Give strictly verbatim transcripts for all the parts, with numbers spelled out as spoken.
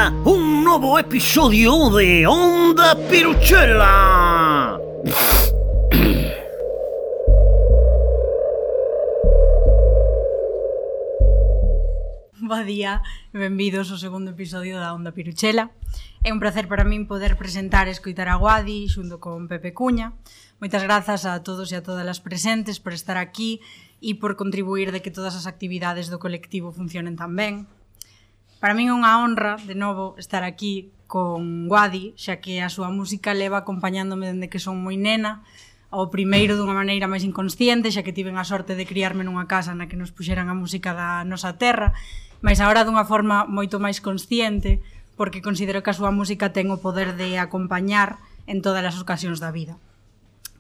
comeza un novo episodio de Onda Piruchela. Bo día e benvidos ao segundo episodio da Onda Piruchela. É un placer para min poder presentar e escoitar a Guadi xunto con Pepe Cuña. Moitas grazas a todos e a todas as presentes por estar aquí e por contribuir de que todas as actividades do colectivo funcionen tan ben. Para min é unha honra, de novo, estar aquí con Guadi, xa que a súa música leva acompañándome dende que son moi nena, ao primeiro dunha maneira máis inconsciente, xa que tiven a sorte de criarme nunha casa na que nos puxeran a música da nosa terra, mas agora dunha forma moito máis consciente, porque considero que a súa música ten o poder de acompañar en todas as ocasións da vida.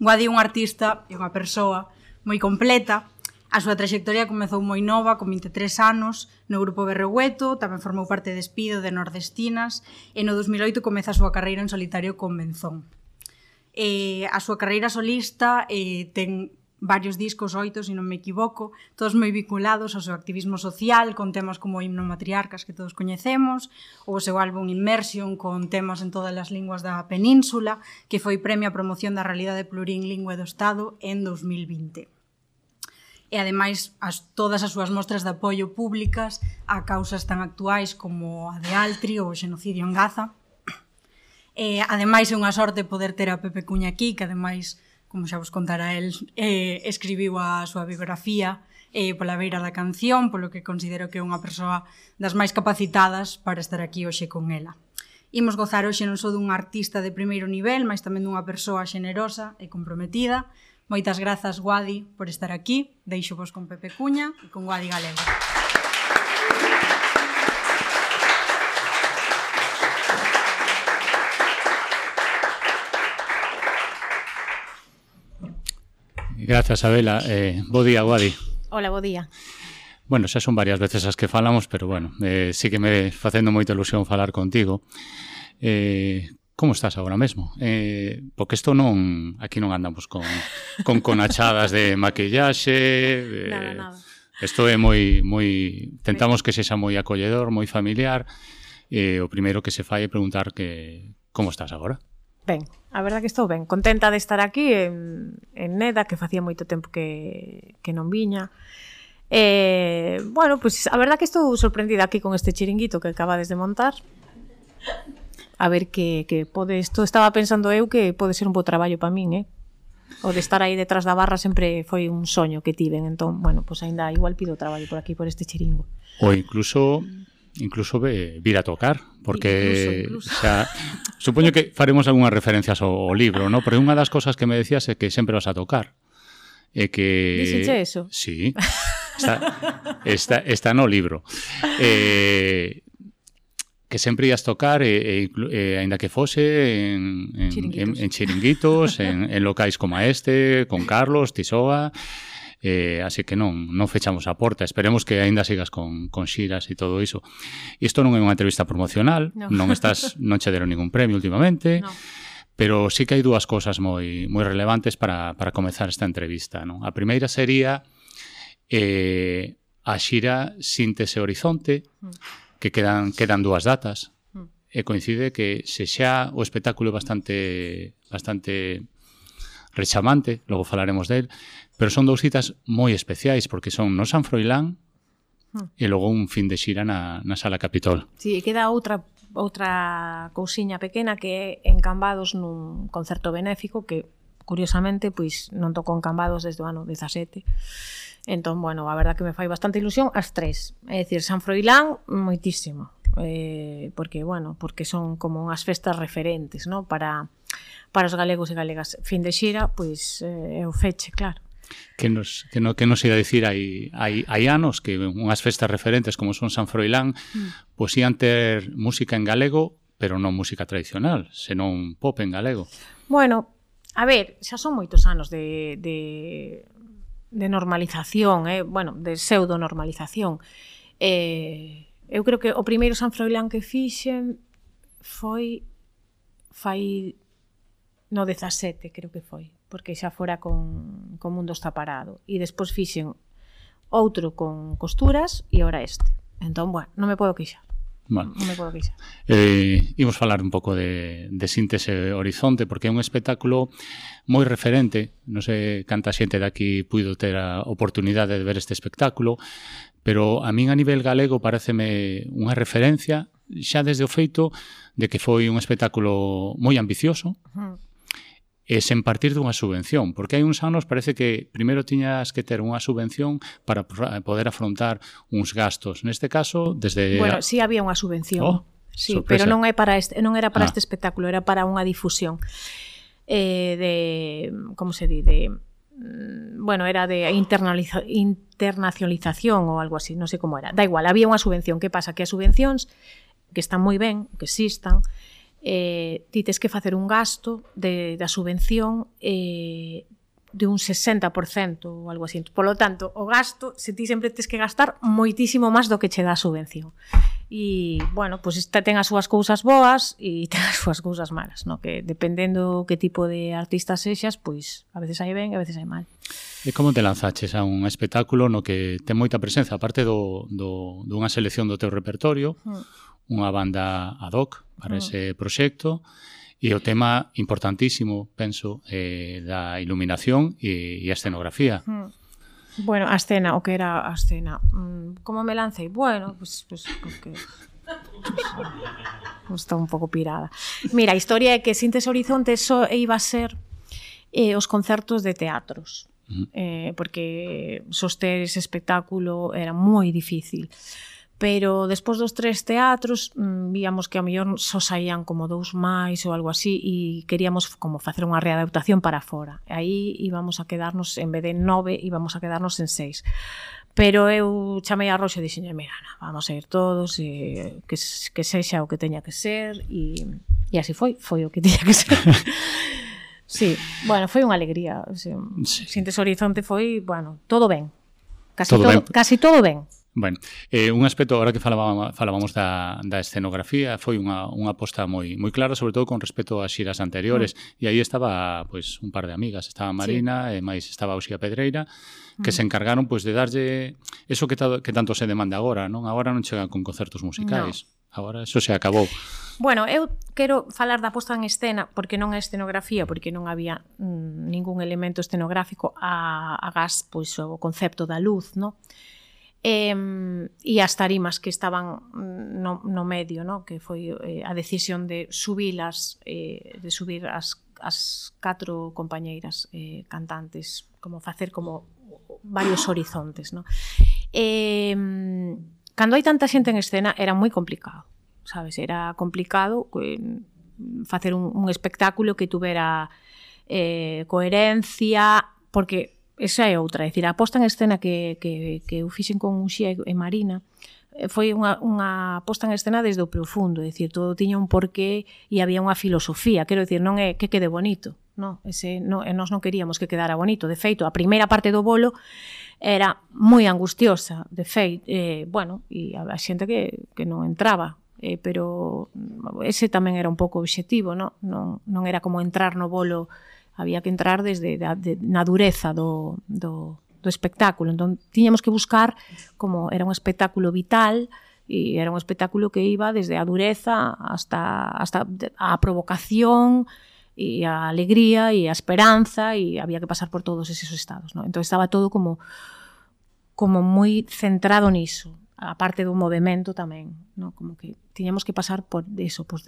Guadi é un artista e unha persoa moi completa. A súa traxectoria comezou moi nova, con vinte e tres anos, no grupo Berregueto, tamén formou parte de Espido, de Nordestinas, e no dos mil oito comeza a súa carreira en solitario con Benzón. E a súa carreira solista eh, ten varios discos, oito, se non me equivoco, todos moi vinculados ao seu activismo social, con temas como o Himno Matriarcas que todos coñecemos, ou o seu álbum Immersion, con temas en todas as linguas da península, que foi premio a promoción da realidade plurilingüe do Estado en dos mil vinte. E ademais as, todas as súas mostras de apoio públicas a causas tan actuais como a de Altri ou o xenocidio en Gaza. E ademais é unha sorte poder ter a Pepe Cuña aquí, que ademais, como xa vos contara el, eh, escribiu a súa biografía eh, pola beira da canción, polo que considero que é unha persoa das máis capacitadas para estar aquí hoxe con ela. Imos gozar hoxe non só dun artista de primeiro nivel, mas tamén dunha persoa xenerosa e comprometida. Moitas grazas, Guadi, por estar aquí. Deixo vos con Pepe Cuña e con Guadi Galego. Grazas, Abela. Eh, bo día, Guadi. Hola, bo día. Bueno, xa son varias veces as que falamos, pero bueno, eh, sí que me facendo moita ilusión falar contigo. Eh, como estás agora mesmo? Eh, porque isto non, aquí non andamos con, con conachadas de maquillaxe. Eh, nada, nada. Isto é moi, moi, tentamos que sexa moi acolledor, moi familiar. Eh, o primeiro que se fai é preguntar que como estás agora? Ben, a verdad que estou ben, contenta de estar aquí en, en Neda, que facía moito tempo que, que non viña. Eh, bueno, pois pues, a verdad que estou sorprendida aquí con este chiringuito que acabades de montar. A ver que, que pode, isto estaba pensando eu que pode ser un bo traballo para min, eh? O de estar aí detrás da barra sempre foi un soño que tiven, entón, bueno, pois pues aínda igual pido traballo por aquí, por este chiringo. Ou incluso incluso ve, vir a tocar, porque incluso, incluso. Xa, supoño que faremos algunhas referencias ao, ao libro, ¿no? Porque unha das cosas que me decías é que sempre vas a tocar. É que... Dixeche eso? Sí, está, está, está no libro. Eh... que sempre ias tocar e, e, e ainda que fose en, en, chiringuitos. en, en chiringuitos, en, en locais como este, con Carlos, Tisoa, eh, así que non, non fechamos a porta, esperemos que aínda sigas con, con xiras e todo iso. Isto non é unha entrevista promocional, no. non estás, non che deron ningún premio últimamente, no. Pero sí que hai dúas cosas moi, moi relevantes para, para comezar esta entrevista, non? A primeira sería eh, a xira Síntese Horizonte, mm. que quedan quedan dúas datas mm. e coincide que se xa o espectáculo é bastante bastante rechamante, logo falaremos del, pero son dous citas moi especiais porque son no San Froilán mm. e logo un fin de xira na, na Sala Capitol. Si, sí, queda outra outra cousiña pequena que é en Cambados nun concerto benéfico que curiosamente pois non tocou en Cambados desde o ano dezasete. Entón, bueno, a verdad que me fai bastante ilusión as tres. É dicir, San Froilán, moitísimo. Eh, porque, bueno, porque son como unhas festas referentes, ¿no? Para, para os galegos e galegas. Fin de xira, pois, é eh, o feche, claro. Que nos, que no, que nos ia dicir hai, hai, hai anos que unhas festas referentes como son San Froilán mm. pois ian ter música en galego, pero non música tradicional, senón pop en galego. Bueno, a ver, xa son moitos anos de... de... de normalización, eh? bueno, de pseudo-normalización. Eh, eu creo que o primeiro San Froilán que fixen foi fai no dezasete, creo que foi, porque xa fora con, con Mundo está parado. E despois fixen outro con Costuras e ora este. Entón, bueno, non me podo queixar. Bueno, non me podo queixar. Eh, imos falar un pouco de, de Síntese Horizonte, porque é un espectáculo moi referente. Non sei canta xente daqui puido ter a oportunidade de ver este espectáculo, pero a min a nivel galego pareceme unha referencia xa desde o feito de que foi un espectáculo moi ambicioso, uh-huh. e sen partir dunha subvención, porque hai uns anos parece que primeiro tiñas que ter unha subvención para poder afrontar uns gastos. Neste caso, desde... Bueno, sí había unha subvención. Oh, sí, sorpresa. pero non é para este, non era para Ah. este espectáculo, era para unha difusión eh, de, como se di, de bueno, era de internaliza, internacionalización ou algo así, non sei como era. Da igual, había unha subvención. Que pasa? Que as subvencións, que están moi ben, que existan, eh, ti tes que facer un gasto de, da subvención eh, de un sesenta por cento ou algo así. Por lo tanto, o gasto, se ti sempre tes que gastar moitísimo máis do que che dá a subvención. E, bueno, pois pues, ten as súas cousas boas e ten as súas cousas malas, no? Que dependendo que tipo de artista sexas, pois a veces hai ben e a veces hai mal. E como te lanzaches a un espectáculo no que ten moita presenza, aparte do, do, dunha selección do teu repertorio, mm. unha banda ad hoc para mm. ese proxecto, e o tema importantísimo, penso, eh, da iluminación e, e a escenografía. Mm. Bueno, a escena, o que era a escena. Mm, como me lancei? Bueno, pues, pues porque... Pues, está un pouco pirada. Mira, a historia é que Síntese Horizonte só iba a ser eh, os concertos de teatros. Mm. Eh, porque soster ese espectáculo era moi difícil. Pero despois dos tres teatros mmm, víamos que a mellor só saían como dous máis ou algo así e queríamos como facer unha readaptación para fora. E aí íbamos a quedarnos, en vez de nove, íbamos a quedarnos en seis. Pero eu chamei a Roxa e dixenlle, mira, na, vamos a ir todos, e que, que sexa o que teña que ser, e, e así foi, foi o que teña que ser. Sí, bueno, foi unha alegría. O sea, sí. Síntese Horizonte foi, bueno, todo ben. Casi todo, todo, ben. Casi todo ben. Bueno, eh, un aspecto, agora que falábamos, falábamos da, da escenografía, foi unha, unha aposta moi moi clara, sobre todo con respecto ás xiras anteriores, mm. e aí estaba pues, un par de amigas, estaba Marina, sí. e máis estaba Uxía Pedreira, que mm. se encargaron pues, de darlle eso que, ta, que tanto se demanda agora, non? Agora non chegan con concertos musicais, no. Agora eso se acabou. Bueno, eu quero falar da posta en escena, porque non é escenografía, porque non había mm, ningún elemento escenográfico a, a gas, pois, o concepto da luz, non? Eh, e as tarimas que estaban no, no medio, no? Que foi eh, a decisión de subilas, eh, de subir as, as catro compañeiras eh, cantantes, como facer como varios horizontes, no? Eh, cando hai tanta xente en escena era moi complicado, sabes? Era complicado eh, facer un, un espectáculo que tuvera eh, coherencia, porque esa é outra, é dicir, a posta en escena que, que, que eu fixen con Uxía e Marina foi unha, unha posta en escena desde o profundo, é dicir, todo tiña un porqué e había unha filosofía, quero dicir, non é que quede bonito, non, ese, non, nós non queríamos que quedara bonito, de feito, a primeira parte do bolo era moi angustiosa, de feito, eh, bueno, e a xente que, que non entraba, eh, pero ese tamén era un pouco o obxectivo, non, non, non era como entrar no bolo, había que entrar desde da, de, na dureza do, do, do espectáculo. Entón, tiñamos que buscar como era un espectáculo vital e era un espectáculo que iba desde a dureza hasta, hasta a provocación e a alegría e a esperanza, e había que pasar por todos esos estados, ¿no? Entón, estaba todo como como moi centrado niso, a parte do movimento tamén, ¿no? Como que tiñamos que pasar por eso, por,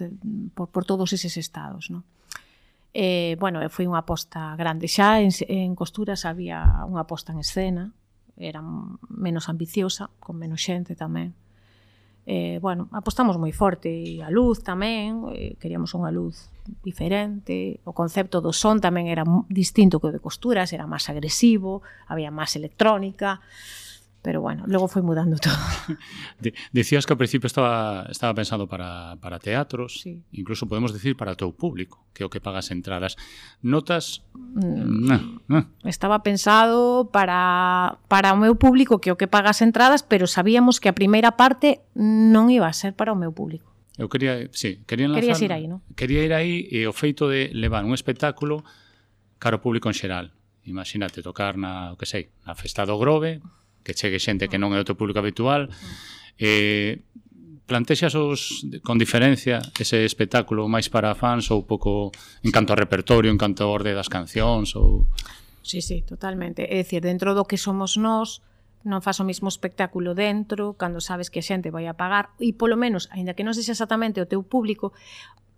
por, por todos eses estados, ¿no? Eh, bueno, foi unha aposta grande. Xa en, en Costuras había unha aposta en escena, era menos ambiciosa, con menos xente tamén. Eh, bueno, apostamos moi forte, e a luz tamén, eh, queríamos unha luz diferente, o concepto do son tamén era distinto que o de Costuras, era máis agresivo, había máis electrónica, pero bueno, logo foi mudando todo. Dicías que ao principio estaba, estaba pensado para, para teatros, sí. Incluso podemos decir para o teu público, que é o que pagas entradas. Notas... Mm, no, no. Estaba pensado para, para o meu público, que é o que pagas entradas, pero sabíamos que a primeira parte non iba a ser para o meu público. Eu quería, sí, quería enlazar... Querías ir aí, non? Quería ir aí e o feito de levar un espectáculo cara ao público en xeral. Imagínate tocar na, o que sei, na Festa do Grove, que chegue xente que non é o teu público habitual, eh, plantexas os, con diferencia ese espectáculo máis para fans ou pouco en canto a repertorio, en canto a orde das cancións ou... Sí, sí, totalmente. É dicir, dentro do que somos nós, non faz o mismo espectáculo dentro, cando sabes que a xente vai a pagar, e polo menos, aínda que non sexa exactamente o teu público,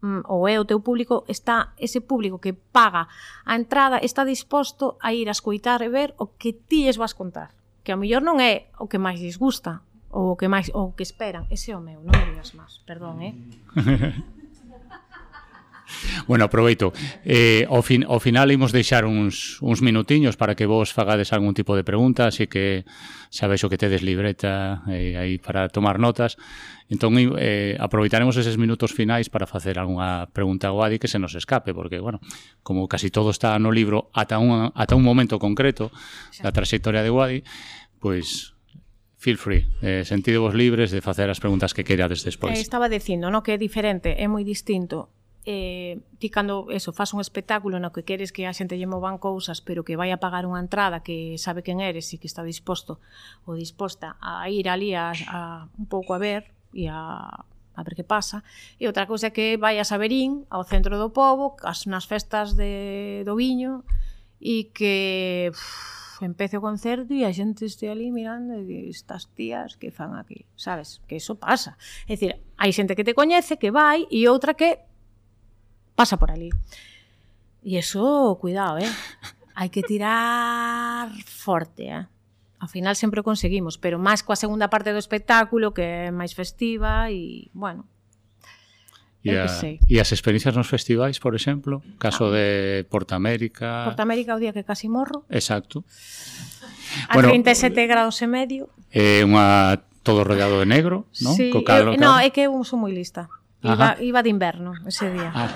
ou é o teu público, está ese público que paga a entrada, está disposto a ir a escoitar e ver o que ti lles vas contar. Que a mellor non é o que máis lles gusta, ou o que máis ou o que esperan. Ese é o meu, non me digas máis. Perdón, eh? Bueno, aproveito. Eh, ao, fin, ao final imos deixar uns, uns minutiños para que vos fagades algún tipo de pregunta, así que sabéis o que tedes libreta eh, aí para tomar notas. Entón, eh, aproveitaremos eses minutos finais para facer algunha pregunta a Guadi que se nos escape, porque, bueno, como casi todo está no libro ata un, ata un momento concreto da trayectoria de Guadi, pois... Feel free, eh, sentidevos libres de facer as preguntas que querades despois. Eh, estaba dicindo, no, que é diferente, é moi distinto. Eh, ti cando eso, faz un espectáculo no que queres que a xente lle movan cousas, pero que vai a pagar unha entrada que sabe quen eres e que está disposto ou disposta a ir ali a, a un pouco a ver e a, a ver que pasa. E outra cousa é que vai a Saberín, ao centro do pobo, as, nas festas de, do viño, e que... Uf, empece o concerto e a xente este ali mirando e di, estas tías que fan aquí, sabes? Que eso pasa. É dicir, hai xente que te coñece, que vai, e outra que pasa por ali. E eso, cuidado, eh? Hai que tirar forte, eh? Ao final sempre o conseguimos, pero máis coa segunda parte do espectáculo, que é máis festiva e, bueno... E, a, e as experiencias nos festivais, por exemplo, caso ah. de Porta América... Porta América o día que casi morro. Exacto. A bueno, trinta e sete graus e medio. É unha todo rodeado de negro, non? Sí, Co cal, eu, no, é que eu sou moi lista. Iba, iba de inverno ese día. Ah.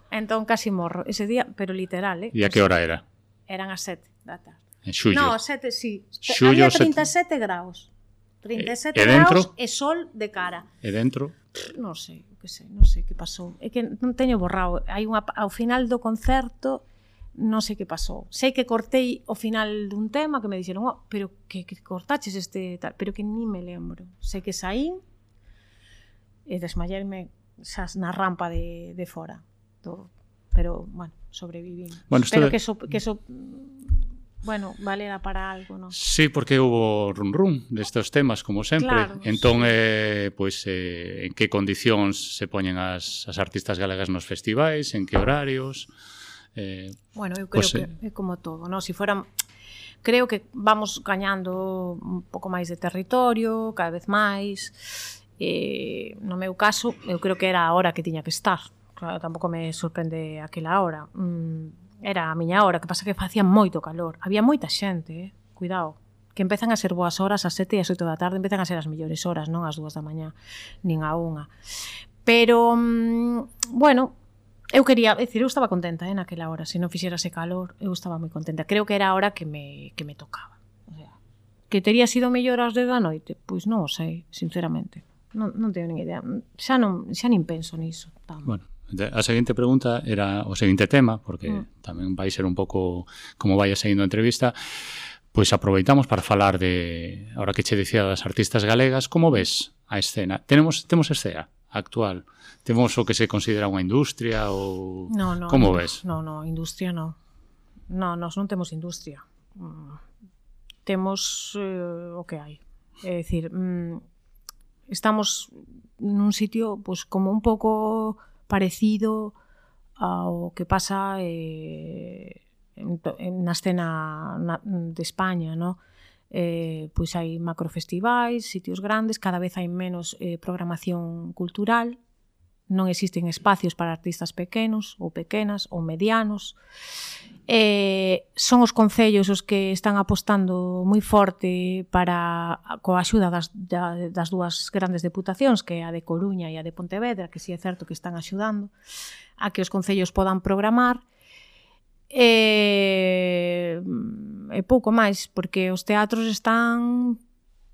Entón casi morro ese día, pero literal, eh? E a que hora era? Eran as sete da tarde. En xullo. No, sete, sí. Xullo, había trinta e sete graus. trinta e sete e graus e sol de cara. E dentro? Non sei, que sei, non sei que pasou. É que non teño borrado. Hai unha ao final do concerto non sei que pasou. Sei que cortei o final dun tema que me dixeron, "Oh, pero que, que cortaches este tal", pero que ni me lembro. Sei que saín e desmayarme xas na rampa de, de fora. Todo. Pero, bueno, sobreviví. Bueno, Espero de... que eso, que eso bueno, valera para algo, non? Sí, porque hubo run run destes temas, como sempre. Claro, entón, sí. eh, pues, eh, en que condicións se poñen as, as artistas galegas nos festivais, en que horarios... Eh, bueno, eu creo pues, que é como todo, non? Si fuera... Creo que vamos gañando un pouco máis de territorio, cada vez máis. Eh, no meu caso, eu creo que era a hora que tiña que estar. Claro, tampouco me sorprende aquela hora. Mm, era a miña hora, que pasa que facía moito calor. Había moita xente, eh? Cuidado, que empezan a ser boas horas ás sete e ás oito da tarde, empezan a ser as mellores horas, non ás dúas da mañá, nin a unha. Pero, mm, bueno, eu quería, é dicir, eu estaba contenta, eh, naquela hora, se non fixera ese calor, eu estaba moi contenta. Creo que era a hora que me, que me tocaba. O sea, que tería sido mellor ás dez da noite? Pois non o sei, sinceramente. Non, non teño nin idea. Xa non, xa nin penso niso. Tan. Bueno. A seguinte pregunta era o seguinte tema, porque mm. tamén vai ser un pouco como vai saindo a entrevista. Pois aproveitamos para falar de, ahora que che dicía das artistas galegas, como ves a escena? Tenemos temos escena actual? Temos o que se considera unha industria ou no, no, como no, ves? No, no, industria no. No, nós non temos industria. Mm. Temos eh, o que hai. É dicir, mm, estamos nun sitio pues, como un pouco parecido ao que pasa eh, en, en, na escena na, de España, ¿no? Eh, pois hai macrofestivais, sitios grandes, cada vez hai menos eh, programación cultural, non existen espacios para artistas pequenos ou pequenas ou medianos. Eh, son os concellos os que están apostando moi forte para, coa axuda das, das dúas grandes deputacións, que é a de Coruña e a de Pontevedra, que si é certo que están axudando a que os concellos podan programar. E, e pouco máis, porque os teatros están...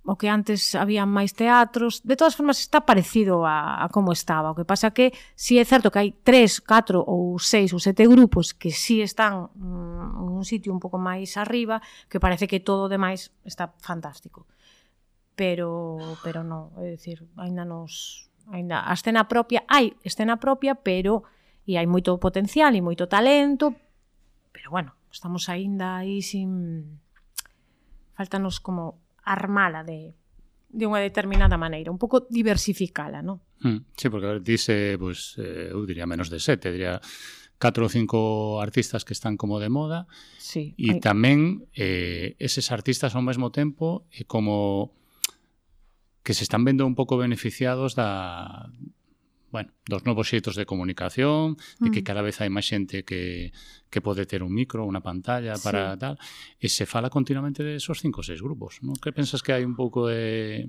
o que antes había máis teatros, de todas formas está parecido a, a como estaba. O que pasa que si é certo que hai tres, catro ou seis ou sete grupos que si están mm, en un sitio un pouco máis arriba, que parece que todo o demais está fantástico. pero pero non, é dicir, aínda nos aínda a escena propia, hai escena propia, pero e hai moito potencial e moito talento, pero bueno, estamos aínda aí sin faltanos como armala de de unha determinada maneira, un pouco diversificala, non? Mm, sí, porque a ver, dice, pues, eh, eu diría menos de sete, diría catro ou cinco artistas que están como de moda, sí, e hai... tamén eh, eses artistas ao mesmo tempo e como que se están vendo un pouco beneficiados da, bueno, dos novos xeitos de comunicación, de que cada vez hai máis xente que, que pode ter un micro, unha pantalla para sí. tal, e se fala continuamente de esos cinco ou seis grupos, non? Que pensas que hai un pouco de...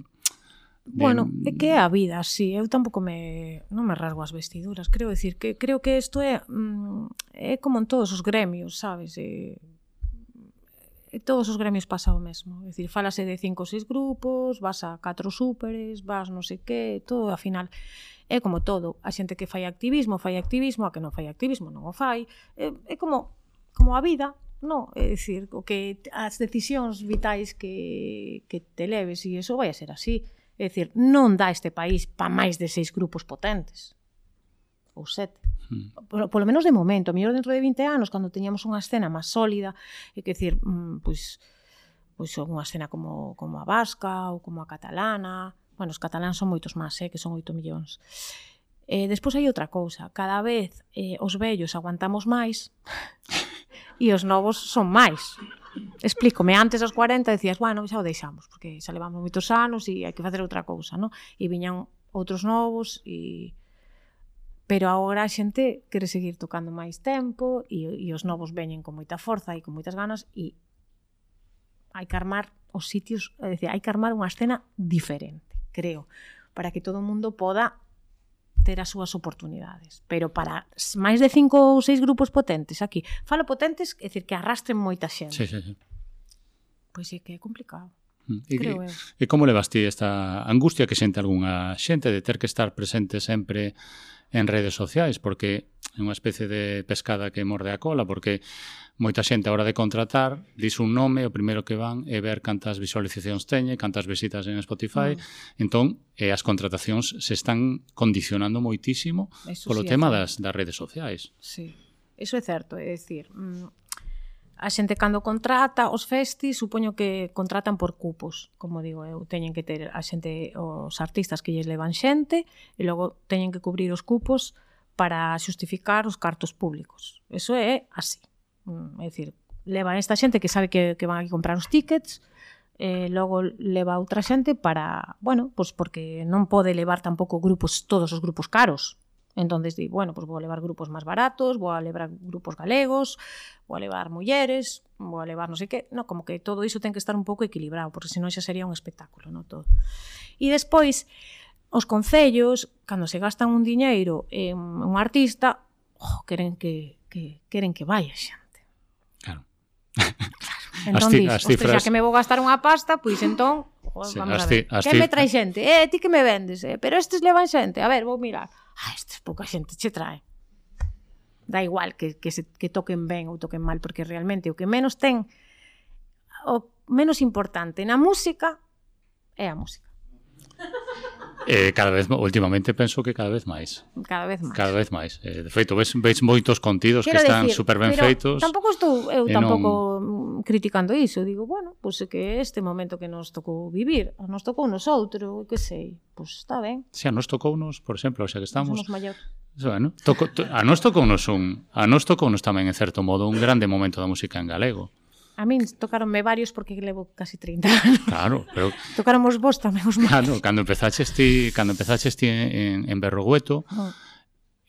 De... Bueno, é que é a vida, sí, eu tampouco me non me rasgo as vestiduras, creo decir que creo que isto é mm, é como en todos os gremios, sabes? E, e todos os gremios pasa o mesmo, é dicir, fálase de cinco ou seis grupos, vas a catro súperes, vas non sei que, todo ao final é como todo, a xente que fai activismo, fai activismo, a que non fai activismo non o fai, é, é como como a vida. No, é dicir, o que as decisións vitais que, que te leves e iso vai a ser así. É dicir, non dá este país pa máis de seis grupos potentes. Ou sete. Mm. Por, por lo menos de momento. A mellor dentro de vinte anos, cando teñamos unha escena máis sólida, é que dicir, mm, pois, pois unha escena como, como a vasca ou como a catalana. Bueno, os cataláns son moitos máis, eh, que son oito millóns. Eh, despois hai outra cousa. Cada vez eh, os vellos aguantamos máis e os novos son máis. Explícome, antes aos cuarenta decías, bueno, xa o deixamos, porque xa levamos moitos anos e hai que facer outra cousa, non? E viñan outros novos e... Pero agora a xente quere seguir tocando máis tempo e, e os novos veñen con moita forza e con moitas ganas e hai que armar os sitios, é dicir, hai que armar unha escena diferente, creo, para que todo o mundo poda ter as súas oportunidades. Pero para máis de cinco ou seis grupos potentes aquí, falo potentes, é dicir, que arrastren moita xente. Sí, sí, sí. Pois é que é complicado. E, creo e, eu. E como levas ti esta angustia que xente algunha xente de ter que estar presente sempre en redes sociais? Porque é unha especie de pescada que morde a cola, porque moita xente a hora de contratar dis un nome, o primeiro que van é ver cantas visualizacións teñe, cantas visitas en Spotify, mm. entón eh, as contratacións se están condicionando moitísimo eso polo sí, tema das, das redes sociais. Sí, eso é certo, é dicir, mm, a xente cando contrata os festis, supoño que contratan por cupos, como digo eu, teñen que ter a xente, os artistas que lles levan xente, e logo teñen que cubrir os cupos para xustificar os cartos públicos. Eso é así. É dicir, leva esta xente que sabe que, que van a comprar os tickets, eh, logo leva outra xente para, bueno, pues porque non pode levar tampouco grupos, todos os grupos caros. Entonces di, bueno, pues vou a levar grupos máis baratos, vou a levar grupos galegos, vou a levar mulleres, vou a levar non sei que, no, como que todo iso ten que estar un pouco equilibrado, porque senón xa sería un espectáculo, no todo. E despois, os concellos, cando se gastan un diñeiro en un artista, oh, queren que, que queren que vaya xa. Claro. Entón dis, cifras... xa que me vou gastar unha pasta, pois entón, oh, sí, vamos a ver, que me trae xente? Eh, ti que me vendes? Eh? Pero estes levan xente, a ver, vou mirar. Ah, estes pouca xente che trae. Da igual que, que, se, que toquen ben ou toquen mal, porque realmente o que menos ten, o menos importante na música é a música. Eh, cada vez, últimamente penso que cada vez máis. Cada vez máis. Cada vez máis. Eh, de feito, ves, ves moitos contidos Quero que están decir, super ben feitos. Tampouco estou eu tampouco non... criticando iso. Digo, bueno, pois pues é que este momento que nos tocou vivir, nos tocou nos outro, que sei, pois pues está ben. Si, a nos tocounos, por exemplo, xa que estamos... Somos maior. Bueno, toco, to, a nos tocounos un, a nos tocounos tamén, en certo modo, un grande momento da música en galego. A min tocaronme varios porque levo casi trinta anos. Claro, pero... Tocaromos vos tamén os máis. Claro, cando empezaches ti, cando empezaches ti en, en Berrogueto, oh.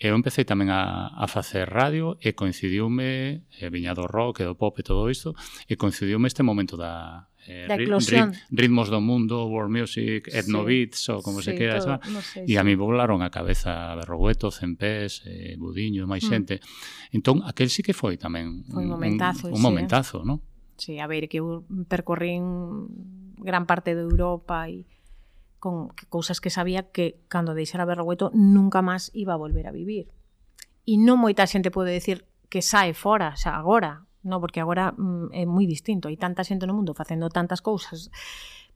eu empecé tamén a, a facer radio e coincidiume, e viña do rock e do pop e todo isto, e coincidiume este momento da... Eh, da eclosión. Rit, ritmos do mundo, world music, etnobeats, sí. ou como sí, se queira, todo, no sé, e a sí. mí volaron a cabeza Berrogueto, Cempés, eh, Budiño, máis xente. Mm. Entón, aquel sí que foi tamén foi un momentazo, un, un sí, momentazo, eh? non? Sí, a ver, que eu percorrín gran parte de Europa e con cousas que sabía que cando deixara Berrogueto nunca máis iba a volver a vivir. E non moita xente pode decir que sae fora, xa agora, no, porque agora mm, é moi distinto, hai tanta xente no mundo facendo tantas cousas.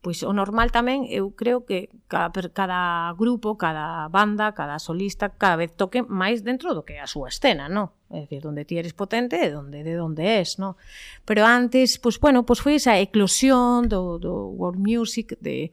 Pois o normal tamén, eu creo que cada, cada grupo, cada banda, cada solista, cada vez toque máis dentro do que é a súa escena, no? É dicir, donde ti eres potente e donde, de donde es, no? Pero antes, pois, bueno, pois foi esa eclosión do, do world music, de,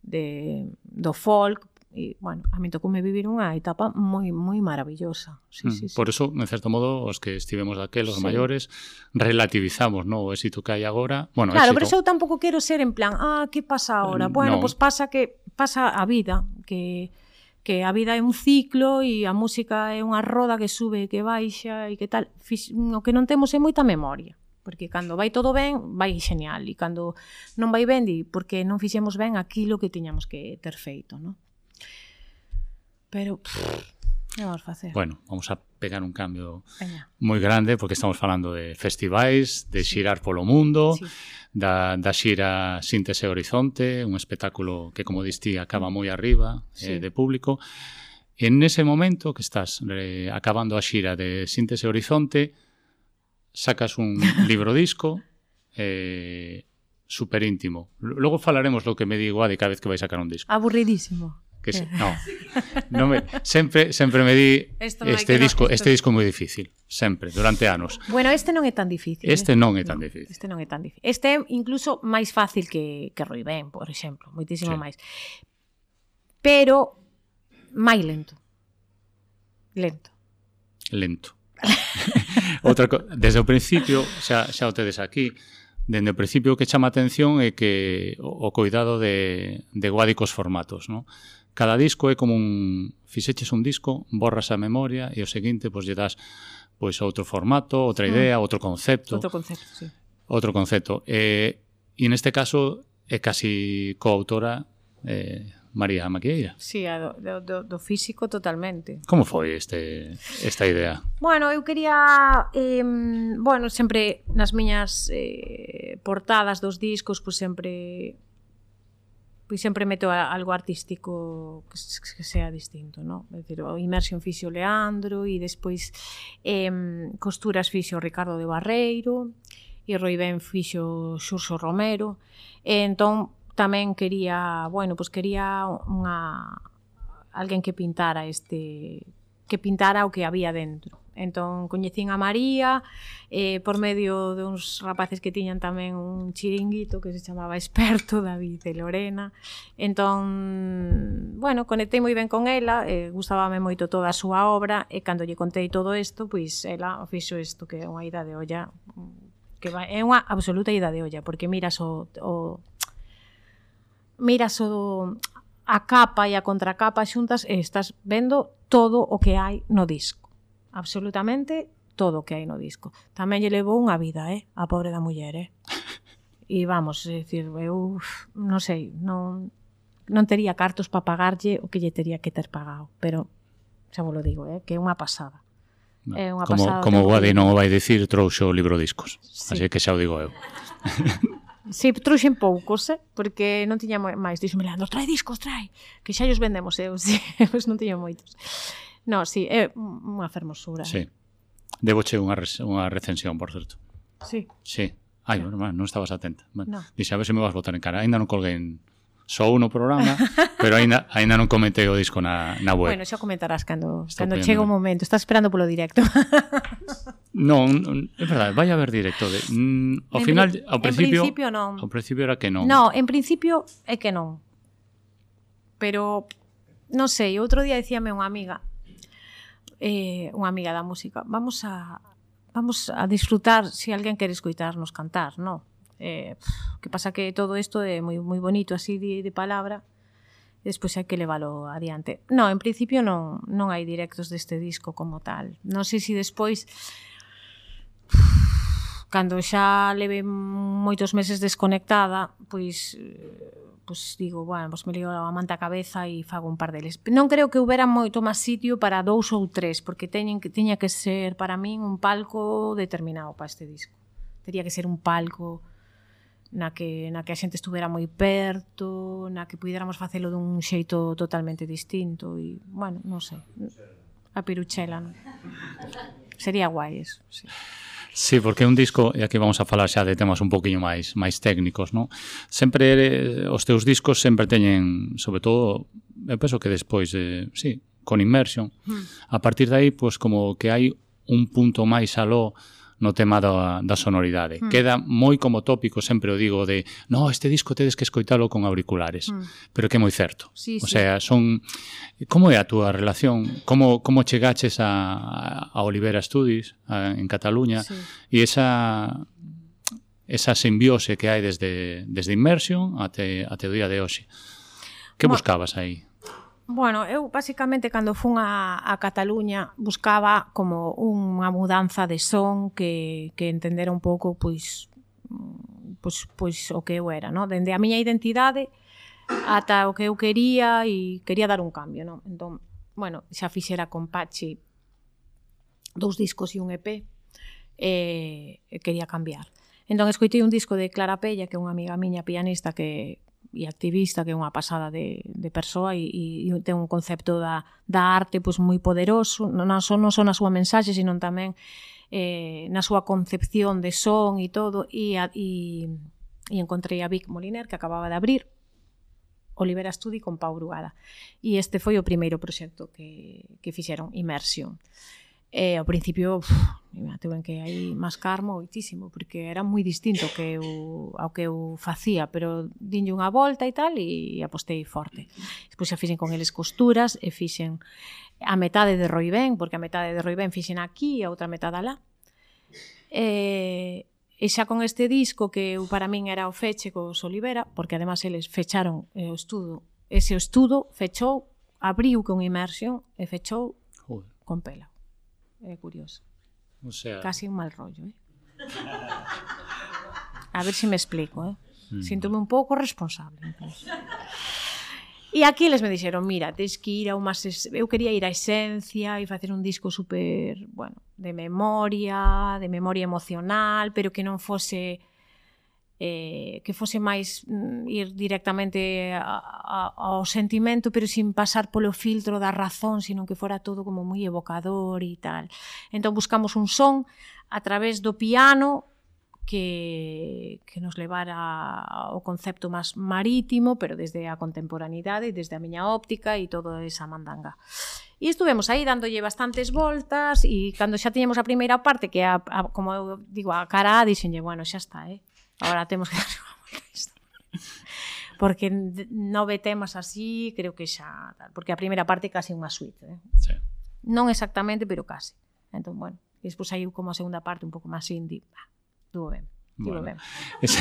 de, do folk, e, bueno, a mí tocoume vivir unha etapa moi, moi maravillosa. Sí, mm, sí, sí. Por eso, en certo modo, os que estivemos daquel, os sí. maiores, relativizamos, no, o éxito que hai agora. Bueno, claro, éxito... pero eu tampouco quero ser en plan, ah, que pasa agora? Bueno, no. pois pues pasa que pasa a vida, que que a vida é un ciclo e a música é unha roda que sube e que baixa e que tal. O que non temos é moita memoria. Porque cando vai todo ben, vai genial. E cando non vai ben, di, porque non fixemos ben aquilo que tiñamos que ter feito, non? Pero, pff, que vamos facer? Bueno, vamos a pegar un cambio Veña. moi grande, porque estamos falando de festivais, de xirar polo mundo, Sí. da, da xira Síntese Horizonte, un espectáculo que, como distí, acaba moi arriba Sí. eh, de público. En ese momento que estás eh, acabando a xira de Síntese Horizonte, sacas un libro disco eh, super íntimo. Logo falaremos lo que me digo de cada vez que vai sacar un disco. Aburridísimo. Que se, no, no me, sempre, sempre me di Esto no este hai que disco, no, esto... este disco é moi difícil, sempre, durante anos. Bueno, este non é tan difícil. Este eh? non é tan no, difícil. Este non é tan difícil. Este é incluso máis fácil que, que Roi Ben, por exemplo, moitísimo Sí. máis. Pero máis lento. Lento. Lento. Outra co... Desde o principio, xa, xa o tedes aquí, desde o principio o que chama a atención é que o, o cuidado de, de guádicos formatos, ¿no? Cada disco é como un... Fixeches un disco, borras a memoria e o seguinte, pois, lle das pois, outro formato, outra idea, mm. outro concepto. Outro concepto, sí. Outro concepto. Eh, e neste caso é casi coautora eh, María Maquieira. Sí, a do, do, do físico totalmente. Como foi este, esta idea? Bueno, eu quería, eh, bueno, sempre nas miñas eh, portadas dos discos, pois sempre pois sempre meto algo artístico que, que sea distinto, ¿no? É dicir, o Immersion fixo Leandro e despois eh, costuras fixo Ricardo de Barreiro e Roi Ben fixo Xurxo Romero. E entón tamén quería, bueno, pois quería unha alguén que pintara este que pintara o que había dentro. Entón coñecín a María eh, por medio de uns rapaces que tiñan tamén un chiringuito que se chamaba Experto, David e Lorena. Entón, bueno, conectei moi ben con ela, eh, gustábame moito toda a súa obra e cando lle contei todo isto, pois ela fixo isto que é unha ida de olla, que vai, é unha absoluta ida de olla, porque miras o, o miras o a capa e a contracapa xuntas e estás vendo todo o que hai no disco. Absolutamente todo o que hai no disco. Tamén lle levou unha vida, eh, a pobre da muller, eh. E vamos, é dicir, eu non sei, non non tería cartos para pagarlle o que lle tería que ter pagado, pero xa vos lo digo, eh, que é unha pasada. No, É unha como pasada. como Guadi non o vai dicir, trouxo o libro discos. Sí. Así que xa o digo eu. Si, sí, trouxen poucos, eh? Porque non tiña máis. Dixome, Leandro, trae discos, trae, que xa os vendemos eu, si, pois non tiña moitos. No, si, sí, é unha fermosura. Sí. Deboche unha, res, unha recensión, por certo. Sí. Sí. Ai, bueno, non estabas atenta. Bueno, No. Dixe, a ver se me vas botar en cara. Ainda non colguei en só no programa, pero aínda aínda non comentei o disco na, na web. Bueno, xa comentarás cando, Estou cando pillando chega o ben. momento. Estás esperando polo directo. Non, non, é verdade, vai haber directo de, mm, ao En final, pri- ao en principio, principio non. ao principio era que non. No, en principio é que non. Pero, non sei, outro día dicíame unha amiga, eh, unha amiga da música, vamos a vamos a disfrutar se si alguén quere escoitarnos cantar, non? Eh, pff, que pasa que todo isto é moi moi bonito así de, de palabra, e despois hai que leválo adiante. No, en principio non non hai directos deste disco como tal. Non sei se si despois cando xa leve moitos meses desconectada, pois pois digo, bueno, pois me lío a manta a cabeza e fago un par deles. Non creo que houbera moito máis sitio para dous ou tres, porque teñen que tiña que ser para min un palco determinado para este disco. Tería que ser un palco na que na que a xente estuvera moi perto, na que puidéramos facelo dun xeito totalmente distinto e, bueno, non sei. A Piruchela, non? Sería guai eso, sí. Sí, porque é un disco, e aquí vamos a falar xa de temas un poquinho máis máis técnicos, non? Sempre eh, os teus discos sempre teñen, sobre todo, eu penso que despois, eh, sí, con Immersion, mm. a partir de aí, pois como que hai un punto máis aló no tema da, da sonoridade. Mm. Queda moi como tópico, sempre o digo, de no, este disco tedes que escoitalo con auriculares, mm. pero que é moi certo. Sí, o sí. sea, son... Como é a túa relación? Como, como chegaches a, a Olivera Studios a, en Cataluña sí. e esa esa simbiose que hai desde, desde Immersion até, até o día de hoxe? Que bueno, buscabas aí? Bueno, eu basicamente cando fun a, a Cataluña buscaba como unha mudanza de son que, que entendera un pouco pois, pois, pois o que eu era, no? Dende a miña identidade ata o que eu quería e quería dar un cambio, no? Entón, bueno, xa fixera con Pachi dous discos e un E P e quería cambiar. Entón escoitei un disco de Clara Pella, que é unha amiga miña pianista que e activista, que é unha pasada de, de persoa e, e ten un concepto da, da arte pois, moi poderoso, non só, non só na súa mensaxe, sino tamén eh, na súa concepción de son e todo, e, a, e, e encontrei a Vic Moliner, que acababa de abrir Olivera Studio con Pau Brugada, e este foi o primeiro proxecto que, que fixeron, Immersion. E ao principio, uf, tuve que aí mascar moitísimo, porque era moi distinto que eu, ao que eu facía, pero dinlle unha volta e tal, e apostei forte. Despois xa fixen con eles costuras, e fixen a metade de Roibén, porque a metade de Roibén fixen aquí e a outra metade alá. E, e xa con este disco, que eu, para min era o feche cos Olivera, porque además eles fecharon o estudo, ese estudo fechou, abriu con Immersion e fechou Joder. Con Pela. É curioso. O sea... Casi un mal rollo, eh? A ver se si me explico, eh? Mm. Síntome un pouco responsable, incluso. E aquí les me dixeron, mira, tens que ir a unha... Eu quería ir á esencia e facer un disco super, bueno, de memoria, de memoria emocional, pero que non fose... Eh, que fose máis mm, ir directamente a, a, ao sentimento, pero sin pasar polo filtro da razón, sino que fora todo como moi evocador e tal. Entón buscamos un son a través do piano que, que nos levara ao concepto máis marítimo, pero desde a contemporaneidade, desde a miña óptica e toda esa mandanga. E estuvemos aí dándolle bastantes voltas, e cando xa tiñemos a primeira parte, que a, a, como eu digo, a cara A, dixenlle, bueno, xa está, eh? Ahora temos que dar unha volta a isto. Porque nove temas así, creo que xa... Porque a primeira parte é casi unha suite, eh? Sí. Non exactamente, pero casi. Entón, bueno, e despois saiu como a segunda parte un pouco máis indie. Bah, estuvo ben, estivo bueno. ben. Ese,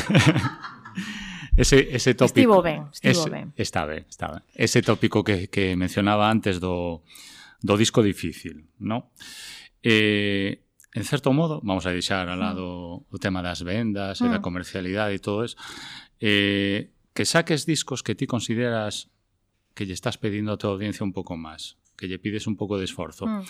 ese, ese tópico... Estivo ben, estivo ese, ben. Está ben, está ben. Ese tópico que, que mencionaba antes do, do disco difícil, ¿no? Eh... En certo modo, vamos a deixar ao lado o tema das vendas e da comercialidade e todo eso, eh, que saques discos que ti consideras que lle estás pedindo a tua audiencia un pouco máis, que lle pides un pouco de esforzo, mm.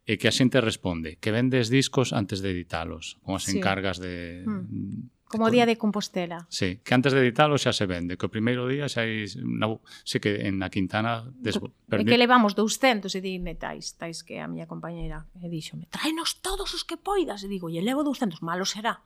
e que a xente responde, que vendes discos antes de editalos, como as sí. encargas de... Mm. Como o día de Compostela. Sí, que antes de editalo xa se vende, que o primeiro día xa hai, no, sí que en na Quintana des... é que levamos douscentos e dime tais, tais que a miña compañeira e díxome, tráenos todos os que poidas, e digo, e levo douscentos, malo será.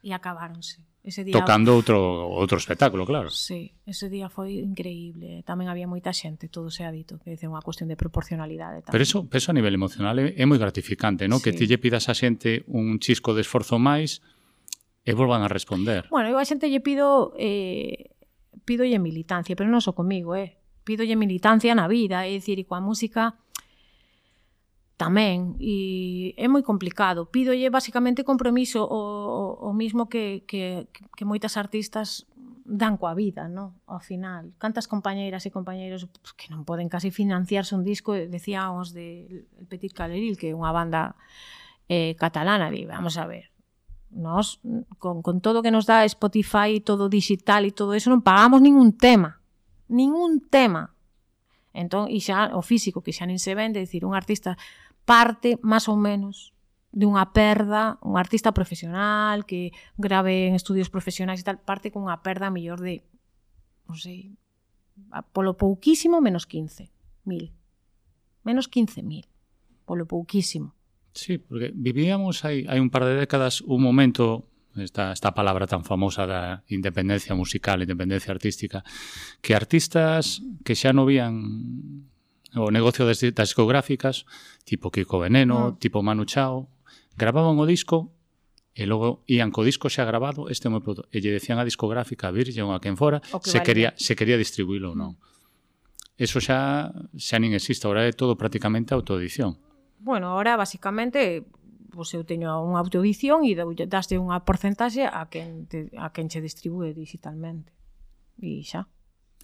E acabáronse. Ese día tocando outro outro espectáculo, claro. Sí, ese día foi increíble. Tamén había moita xente, todo se ha dito, que é unha cuestión de proporcionalidade tamén. Pero eso, eso a nivel emocional é, é moi gratificante, ¿no? Sí. Que ti lle pidas a xente un chisco de esforzo máis e volvan a responder. Bueno, eu a xente lle pido eh, pidolle militancia, pero non só comigo, eh. Pidolle militancia na vida, é dicir, e coa música tamén, e é moi complicado. Pídolle basicamente compromiso, o, o, o mismo que, que, que moitas artistas dan coa vida, no? Ao final. Cantas compañeiras e compañeiros pues, que non poden casi financiarse un disco, decíamos de El Petit Caleril, que é unha banda eh, catalana, e vamos a ver, nos, con, con todo que nos dá Spotify, todo digital e todo eso, non pagamos ningún tema. Ningún tema. Entón, e xa o físico, que xa nin se vende, é dicir, un artista parte, máis ou menos, de unha perda, un artista profesional que grave en estudios profesionais e tal, parte con unha perda mellor de, non sei, polo pouquísimo, menos quince mil. Menos quince mil. Polo pouquísimo. Sí, porque vivíamos hai, hai un par de décadas un momento, esta, esta palabra tan famosa da independencia musical, independencia artística, que artistas que xa non vían o negocio das, das discográficas, tipo Kiko Veneno, mm. tipo Manu Chao, gravaban o disco e logo ían co disco xa grabado, este é o meu produto, e lle decían a discográfica, a Virgin ou a quen fora, se vale. quería, se quería distribuílo ou non. Eso xa, xa nin existe, agora é todo prácticamente autoedición. Bueno, ahora, basicamente, pues, eu teño unha autoedición e daste unha porcentaxe a quen, te, a quen che distribúe digitalmente. E xa.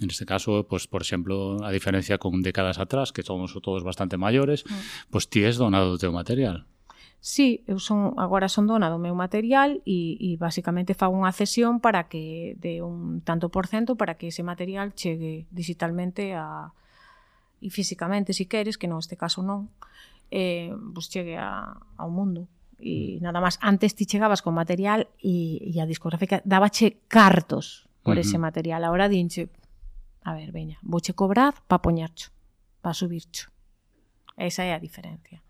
En este caso, pues, por exemplo, a diferencia con décadas atrás, que somos todos bastante maiores, mm. pues ti es donado o teu material. Sí, eu son, agora son dona do meu material e, e basicamente fago unha cesión para que de un tanto por cento para que ese material chegue digitalmente a, e físicamente, se si queres, que non este caso non, eh, pues chegue a, ao mundo. E nada máis, antes ti chegabas con material e, e a discográfica dabache cartos por uh-huh. ese material. Agora dinche, a ver, veña, vouche cobrar pa poñercho, pa subircho. Esa é a diferencia.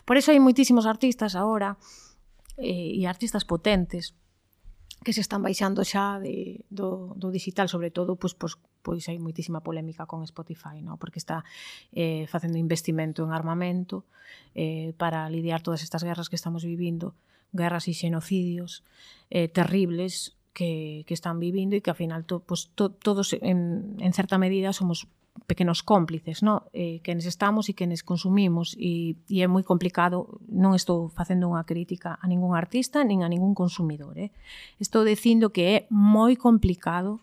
Por eso hai moitísimos artistas agora eh, e artistas potentes que se están baixando xa de, do, do digital, sobre todo, pois, pois, pois hai moitísima polémica con Spotify, ¿no? Porque está eh, facendo investimento en armamento eh, para lidiar todas estas guerras que estamos vivindo, guerras e xenocidios eh, terribles que, que están vivindo e que, ao final, to, pues, to, todos, en, en certa medida, somos pequenos cómplices, ¿no? Eh, quenes estamos e quenes consumimos e, e é moi complicado, non estou facendo unha crítica a ningún artista nin a ningún consumidor, eh? Estou dicindo que é moi complicado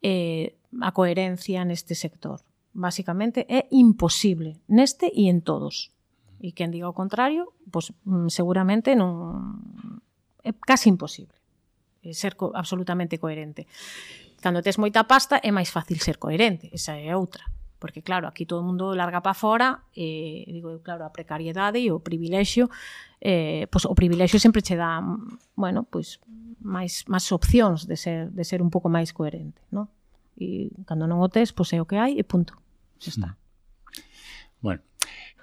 eh, a coherencia neste sector. Básicamente é imposible neste e en todos. E quen diga o contrario, pues, seguramente non é casi imposible ser co- absolutamente coherente. Cando tes moita pasta é máis fácil ser coherente, esa é outra. Porque, claro, aquí todo o mundo larga para fora, e, digo, claro, a precariedade e o privilexio, eh, pois, o privilexio sempre che dá, bueno, pois, máis, máis opcións de ser, de ser un pouco máis coherente, ¿no? E cando non o tes, pois é o que hai e punto. Xa está. Bueno,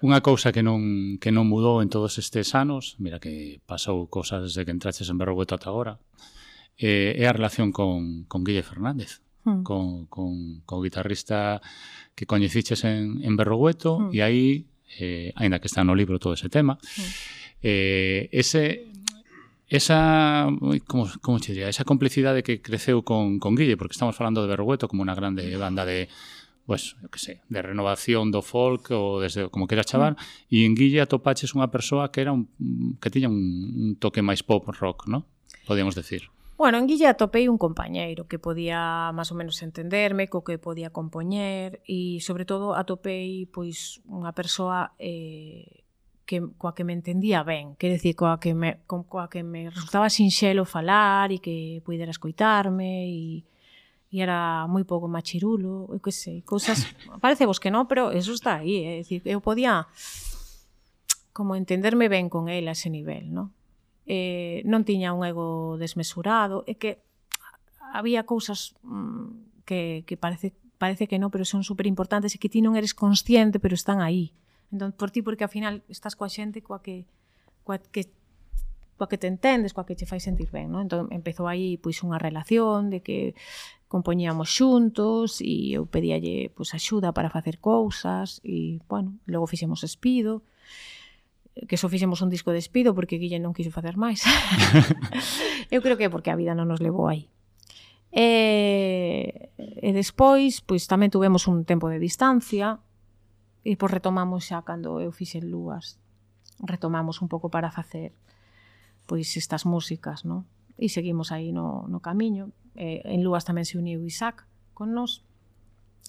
unha cousa que non, que non mudou en todos estes anos, mira que pasou cousas desde que entraches en Berrogueto ata agora, eh, é a relación con, con Guille Fernández, mm. con, con, con o guitarrista que coñeciches en, en Berrogueto, mm. e aí, eh, aínda que está no libro todo ese tema, mm. eh, ese... esa, como, como che diría, esa complicidade que creceu con, con Guille, porque estamos falando de Berrogueto como unha grande banda de, pues, eu que sei, de renovación do folk ou desde como queira chamar, mm. e en Guille atopaches unha persoa que era un, que tiña un, un toque máis pop rock, ¿no? Podíamos decir. Bueno, en Guille atopei un compañeiro que podía máis ou menos entenderme, co que podía compoñer e, sobre todo, atopei pois unha persoa eh, que, coa que me entendía ben, quer decir, coa que me, coa que me resultaba sinxelo falar e que pudera escoitarme e, e era moi pouco machirulo, eu que sei, cousas, parece vos que non, pero eso está aí, é dicir, eu podía como entenderme ben con ele a ese nivel, non? Eh, non tiña un ego desmesurado, e que había cousas mm, que, que parece, parece que non, pero son super importantes e que ti non eres consciente, pero están aí. Entón, por ti, porque ao final estás coa xente coa que, coa que, coa que te entendes, coa que te fai sentir ben, non? Entón, empezou aí pois unha relación de que compoñíamos xuntos e eu pedíalle pois axuda para facer cousas e, bueno, logo fixemos Espido, que só fixemos un disco de Espido porque Guille non quiso facer máis. Eu creo que é porque a vida non nos levou aí. E, e despois, pois tamén tuvemos un tempo de distancia e pois retomamos xa cando eu fixen Lúas. Retomamos un pouco para facer pois estas músicas, non? E seguimos aí no, no camiño. E, en Lúas tamén se uniu Isaac con nós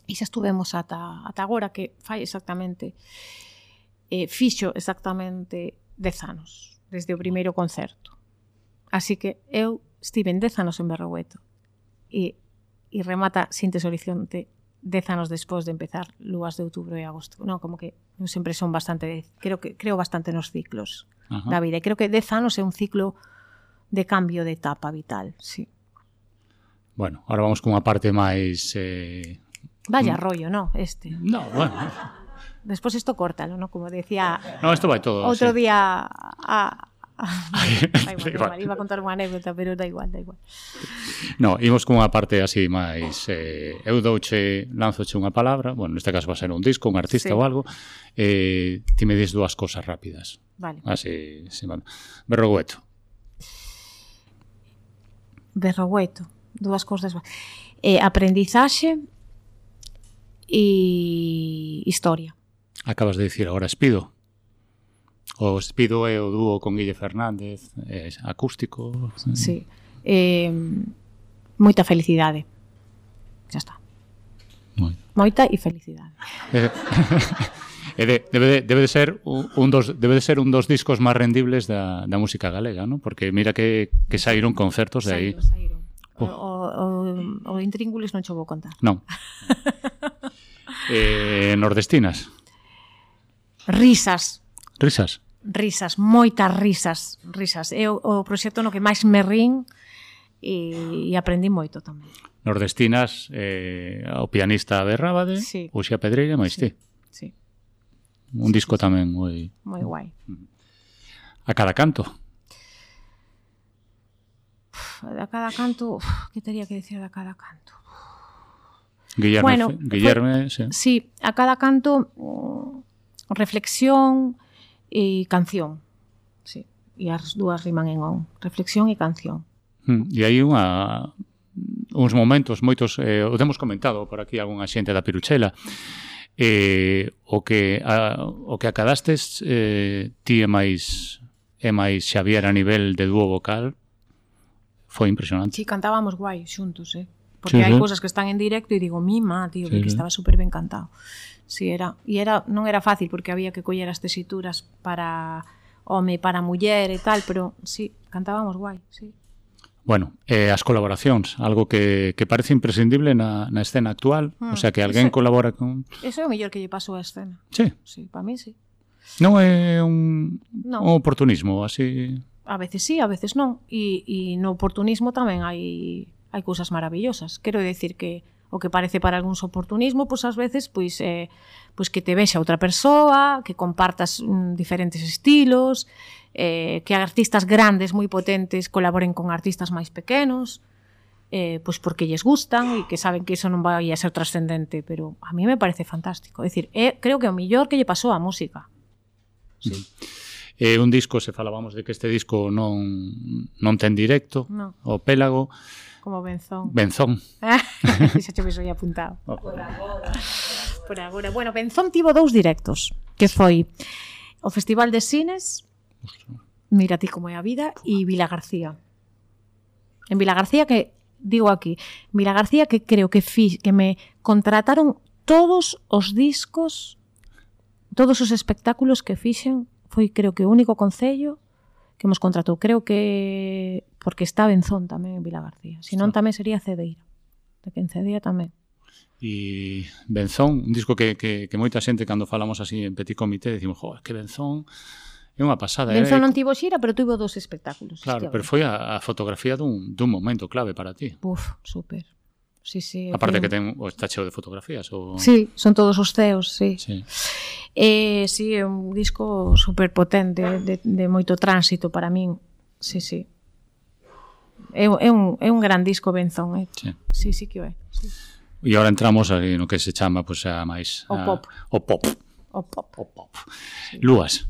e xa estuvemos ata, ata agora, que fai exactamente eh, fixo exactamente dez anos desde o primeiro concerto. Así que eu estive dez anos en Berrogueto e, e remata Sintes Horizonte dez anos despois de empezar Lúas de outubro e agosto. Non, como que eu sempre son bastante, creo que creo bastante nos ciclos uh-huh. da vida. E creo que dez anos é un ciclo de cambio de etapa vital, sí. Bueno, ahora vamos con unha parte máis... Eh... Vaya rollo, ¿no? Este. No, bueno... Despois isto córtalo, ¿no? Como decía... No, isto vai todo. Outro sí. día... A, a, da igual, da igual. igual, iba a contar unha anécdota, pero da igual, da igual. No, imos cunha parte así máis... Eh, eu douche, lanzoche unha palabra, bueno, neste caso va a ser un disco, un artista Sí. ou algo, eh, ti me dis dúas cosas rápidas. Vale. Así, sí, bueno. Berrogueto. Berrogueto, dúas cousas. Eh, aprendizaxe e historia. Acabas de dicir agora Espido. O Espido é o dúo con Guille Fernández, é acústico. Sí. Eh, moita felicidade. Xa está. Moi. Moita e felicidade. Eh, E de, debe, de, debe, de ser un dos, debe de ser un dos discos máis rendibles da, da música galega, ¿no? Porque mira que, que saíron concertos de aí. Saíron, saíron. Oh. O, o, o Intríngulis non cho vou contar. Non. eh, nordestinas. Risas. Risas. Risas, moitas risas. Risas. É o, o proxecto no que máis me rin e, e aprendi moito tamén. Nordestinas, eh, o pianista Abel Rábade, Sí. Uxía Pedreira, máis Sí. ti. Sí, Un disco tamén moi... moi guai. A cada canto. A cada canto, uf, que teria que decir de cada canto? Guillerme, Bueno, Guillerme sí. Sí, a cada canto mm, reflexión e canción. Sí, e as dúas riman en on. Reflexión e canción. Mm, E hai unha uns momentos, moitos, eh, o temos comentado por aquí algunha xente da Piruchela, eh, o que a, o que acadastes eh, ti e máis e máis Xavier a nivel de dúo vocal foi impresionante. Sí, cantábamos guai xuntos, eh? Porque Sí, hai sí. cousas que están en directo e digo, mima, tío, Sí, que sí. estaba super ben cantado. Sí, era, e era, non era fácil porque había que coller as tesituras para home, para muller e tal, pero sí, cantábamos guai, sí. Bueno, eh, as colaboracións, algo que, que parece imprescindible na, na escena actual, Mm, o sea, que alguén ese- colabora con... Eso é o mellor que lle pasou á escena. Sí, Sí, para mí sí. non é un, No. un oportunismo, así... A veces sí, a veces non. E, e no oportunismo tamén hai hai cousas maravillosas. Quero decir que o que parece para algúns oportunismo, pois ás veces pois eh, pois que te vexa outra persoa, que compartas mm, diferentes estilos, eh, que artistas grandes moi potentes colaboren con artistas máis pequenos, eh, pois porque lles gustan e que saben que iso non vai a ser trascendente, pero a mí me parece fantástico. É dicir, é, creo que é o millor que lle pasou á música. Sí. É un disco, se falábamos de que este disco non, non ten directo, No. o Pélago, Como Benzón. Benzón. Xa che viso aí apuntado. Oh. Por agora. Por agora. Bueno, Benzón tivo dous directos, que foi o Festival de Cines, Mira ti como é a vida, e Vila García. En Vila García, que digo aquí, Vila García que creo que fi, que me contrataron todos os discos, todos os espectáculos que fixen, foi creo que o único concello que nos contratou. Creo que porque está Benzón tamén en Vila García. Se non tamén sería Cedeira. De que en Cedeira tamén. E Benzón, un disco que, que, que moita xente cando falamos así en Petit Comité decimos, jo, que Benzón é unha pasada. Benzón é... non tivo xira, pero tivo dos espectáculos. Claro, Hostia, pero foi a, a fotografía dun, dun momento clave para ti. Uf, súper. Sí, sí. Aparte creo. que ten, o está cheo de fotografías. O... Sí, son todos os ceos, sí. Sí. Eh, sí, é un disco super potente, de, de moito tránsito para min. Sí, sí. É, é, un, é un gran disco Benzón, eh? Sí. Sí, sí que o é. Sí. E agora entramos aí no que se chama pues, a máis... O a, pop. O pop. O pop. O pop. Lúas.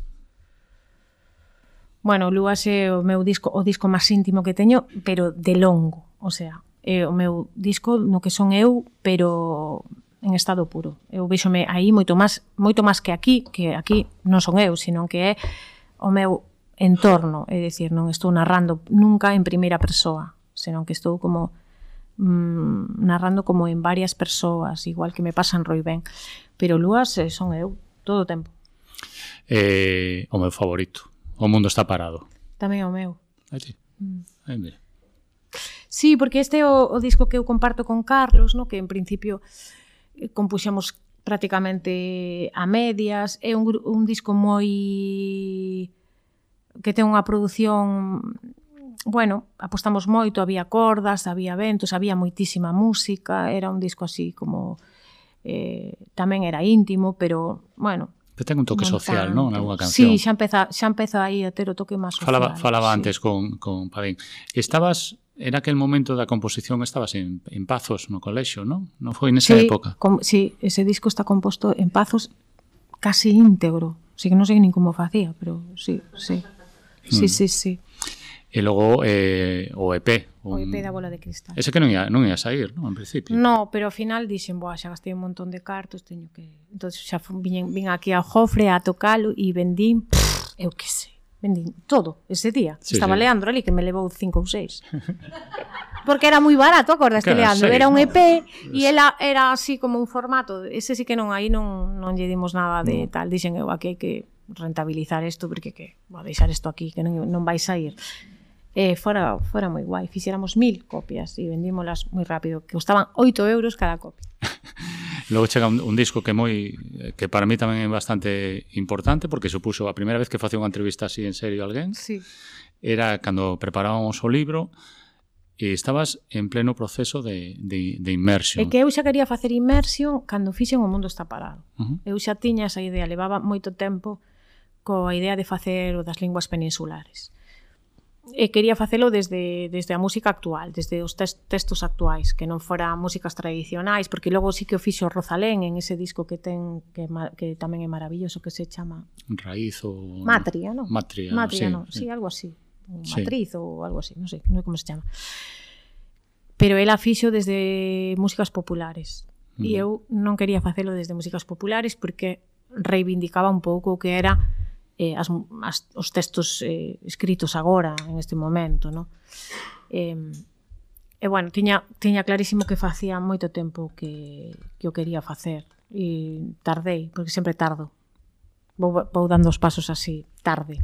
Bueno, Lúas é o meu disco, o disco máis íntimo que teño, pero de longo, o sea, é o meu disco no que son eu, pero en estado puro. Eu véxome aí moito máis, moito máis que aquí, que aquí non son eu, sino que é o meu entorno, é dicir, non estou narrando nunca en primeira persoa, senón que estou como mm, narrando como en varias persoas, igual que me pasa en Roibén. Pero Lúas eh, son eu, todo o tempo. Eh, o meu favorito. O mundo está parado. Tamén o meu. Aí ti. Aí, mira. Sí, porque este é o, o disco que eu comparto con Carlos, no? Que en principio eh, compuxemos prácticamente a medias. É un, gru- un disco moi... que ten unha produción... Bueno, apostamos moito, había cordas, había ventos, había moitísima música, era un disco así como eh, tamén era íntimo, pero, bueno... Que ten un toque social, non? Nalgúna canción. Sí, xa empeza, xa empeza aí a ter o toque máis social. Falaba, falaba sí. antes con, con Padín. Estabas, era aquel momento da composición, estabas en, en Pazos no colexio, non? Non foi nesa sí, época? Com, sí, ese disco está composto en Pazos casi íntegro. Así que non sei nin como facía, pero sí, sí. Sí, mm. sí, sí. E logo eh, o E P. Un... O E P da Bola de Cristal. Ese que non ia, non ia sair, non? En principio. No, pero ao final dixen, boa, xa gastei un montón de cartos, teño que... Entón xa vin, vin aquí ao Jofre a tocalo e vendín, pff, eu que sei, vendín todo ese día. Sí, Estaba sí. Leandro ali, que me levou cinco ou seis. Porque era moi barato, acordas que Leandro? Seis, era un E P e ela era así como un formato. Ese sí que non, aí non, non lle dimos nada de no. tal. Dixen eu, aquí hai que rentabilizar isto, porque que, vou deixar isto aquí, que non, non vai sair. Eh, fora, fora moi guai, fixéramos mil copias e vendímolas moi rápido, que costaban oito euros cada copia. Logo chega un, un disco que moi que para mí tamén é bastante importante, porque supuxo a primeira vez que facía unha entrevista así en serio a alguén, sí. Era cando preparábamos o libro e estabas en pleno proceso de, de, de inmersión. É que eu xa quería facer inmersión cando fixen O Mundo Está Parado. Uh-huh. Eu xa tiña esa idea, levaba moito tempo coa idea de facer o das linguas peninsulares. E quería facelo desde, desde a música actual, desde os tes, textos actuais, que non fora músicas tradicionais, porque logo sí que o fixo Rosalén en ese disco que ten que, que tamén é maravilloso, que se chama Raíz ou... Matria, non? Matria, Matria, sí, non? Sí, sí, algo así. Sí. Matriz ou algo así, non sei, non sei como se chama. Pero ela fixo desde músicas populares. Mm. E eu non quería facelo desde músicas populares porque reivindicaba un pouco o que era eh, as, as, os textos eh, escritos agora, en este momento, no? Eh, e, bueno, tiña, tiña clarísimo que facía moito tempo que, que o quería facer, e tardei, porque sempre tardo. Vou, vou dando os pasos así, tarde.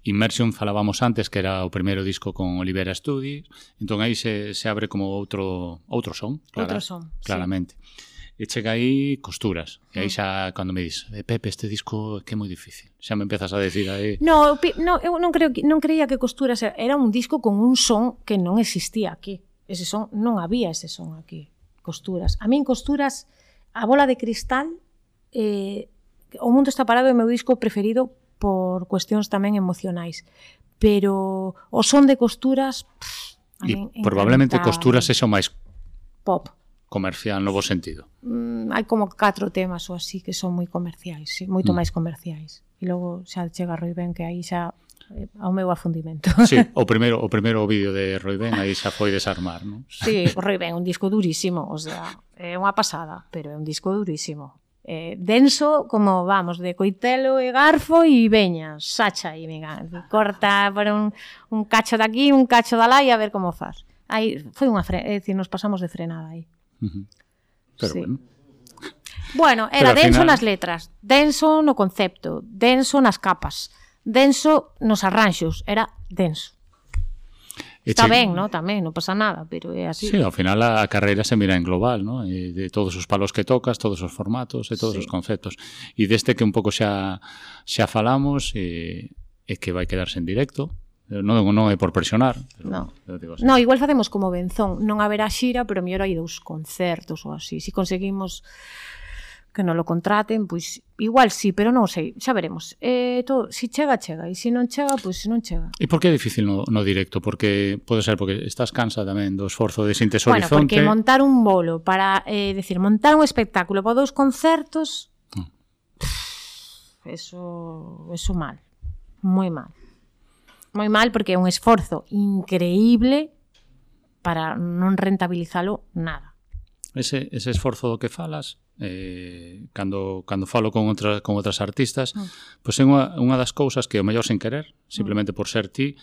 Immersion falábamos antes, que era o primeiro disco con Olivera Studios, entón aí se, se abre como outro outro son, clara, outro son, claramente. Sí. E chega aí Costuras. E aí xa, cando me dis, eh, Pepe, este disco que é moi difícil. Xa me empezas a decir aí... No, no eu non, creo que, non creía que Costuras era un disco con un son que non existía aquí. Ese son, non había ese son aquí. Costuras. A min Costuras, A Bola de Cristal, eh, O Mundo Está Parado é o meu disco preferido por cuestións tamén emocionais. Pero o son de Costuras... Pff, a e min probablemente encanta. Costuras é o máis... Pop. Comercial, no bo sentido. Mm, hai como catro temas ou así que son moi comerciais, sí, moito mm. máis comerciais. E logo xa chega Roi Ben, que aí xa eh, ao meu afundimento. Sí, o primeiro o primeiro vídeo de Roi Ben aí xa foi desarmar, non? Sí, o Roi Ben, un disco durísimo, o sea, é unha pasada, pero é un disco durísimo. Eh, denso, como vamos, de coitelo e garfo e veña, sacha e venga, corta por un, un cacho de aquí, un cacho de lá e a ver como faz. Aí foi unha fre... é dicir, nos pasamos de frenada aí. Uh-huh. Pero sí. Bueno. Bueno, era Pero denso final... nas letras, denso no concepto, denso nas capas, denso nos arranxos, era denso. Está che... ben, ¿no? Tamén, non pasa nada, pero é así. Sí, ao final a carreira se mira en global, ¿no? E de todos os palos que tocas, todos os formatos e todos sí. os conceptos. E deste que un pouco xa xa falamos e, e que vai quedarse en directo. Non, non é por presionar. No. no, igual facemos como Benzón. Non haberá xira, pero mellor hai dous concertos ou así. Si conseguimos que non lo contraten, pois igual sí, pero non sei, xa veremos. Eh, todo, si chega, chega. E se non chega, pois non chega. E por que é difícil no, no directo? Porque pode ser porque estás cansa tamén do esforzo de Sintes Horizonte. Bueno, porque montar un bolo para, eh, decir, montar un espectáculo para dous concertos, oh. pff, eso, eso mal. Moi mal. Moi mal porque é un esforzo increíble para non rentabilizalo nada. Ese, ese esforzo do que falas, eh, cando, cando falo con, outra, con outras artistas, mm. pois é unha, unha das cousas que o mellor sen querer, simplemente mm. por ser ti,